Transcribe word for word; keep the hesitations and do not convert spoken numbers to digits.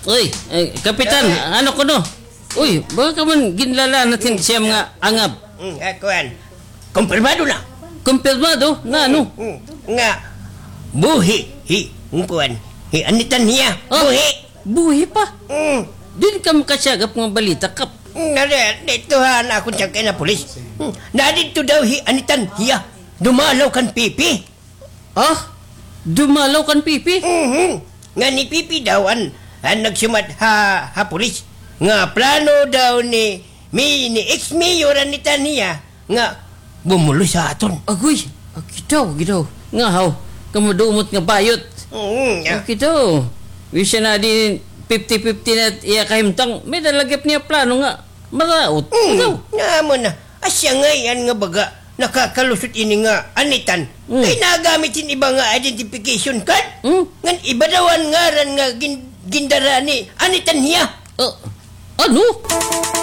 Uy, eh, Kapitan, ano kuno? Uy, baka man ginlalanat hin siyam nga angab. Mm, ah, kuan. Kumpirmado na. Kumpirmado? Nga ano? Mm, nga buhi hi, ang kuan, hi Anitan hiya. Ah, buhi. Buhi pa? Mm. Diri ka makasagap nga balita, Kap. Mm, nari, dito ha, na akon siyang kay na pulis. Mm, nadidto daw hi Anitan hiya. Dumalaw kan Pipi. Ah? Dumalaw kan Pipi? Mhm. Nga ni Pipi daw an, an nagsiumat ha, ha pulis. Nga plano daw ni, mi, ni ex-mayor Anitan hiya nga bumulos ha aton. Agoy, agi daw, agi daw. Nga haw, kamo dumot nga bayot. Mhm, ya. Agi daw. Bisan na di fifty fifty na iya kahimtang, may-ada la gihap niya plano nga maraot. Mhm. Agi daw. Nga amo na. Asya ngay-an nga baga, nakakalusot ini nga Anitan. Mm. Kay nagamit hin iba nga identification card. Mm. Ngan iba daw an ngaran nga gin-, gindara ni Anitan hiya. Ah, ano?